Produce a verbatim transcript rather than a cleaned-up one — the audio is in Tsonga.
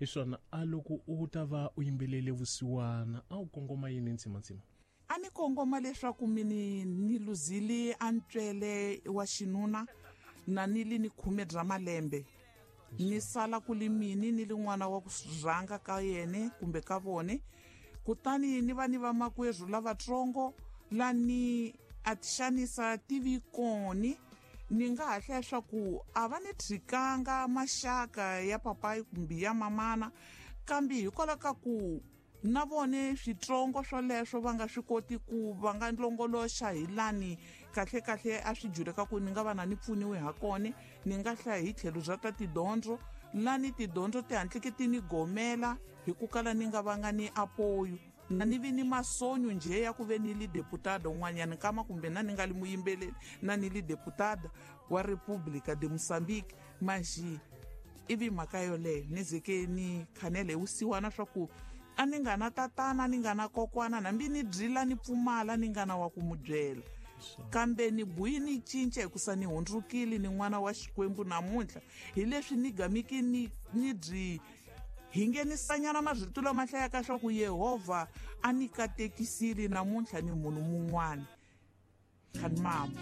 Hi swona, a loko u ta va u yimbelele vusiwana a wu kongoma yini ntsimantsima? A ni kongoma leswaku mini ni luzile a ntswele wa xinuna na ni li ni khume bya malembe, ni sala ku li mini ni li n'wana wa ku rhanga ka yene kumbe ka vone. Kutani ni va ni vamakwerhu lavatsongo lani a ti xanisa tivi koni, ni nga ha hlaya swa ku a va ni tshikanga maxaka ya papayi kumbe ya mamana, kambe hikwalaho ka ku na vone switsongo swoleswo va nga swi koti ku va nga longoloxa hi lani kahle kahle a swi juleka ku ni nga va na ni pfuniwe ha kone. Ni nga hlaya hi tlhelo bya ta tidyondzo, lani tidyondzo ti hatlike ti ni gomela hi ku kala ni nga vanga ni apoyo, na ni vi ni masonyo njhe ya ku ve ni li deputada un'wanyana nkama, kumbe na ni nga li muyimbeleri na ni li deputada wa República de Moçambique. Maxi ivi mhaka yoleyo ni zeke ni khanele hi vusiwana swa ku a ni nga na tatana, ni nga na kokwana, hambi ni byila ni pfumala ni nga na wa ku mu byela, kambe ni buyi ni cinca hikusa ni hundzukile ni n'wana wa Xikwembu namuntlha. Hi leswi ni gamiki ni ni byi hi nghenisanyana marito lama hlayaka swa ku Yehovha a ni katekisile namuntlha ni munhu mun'wana khanimama.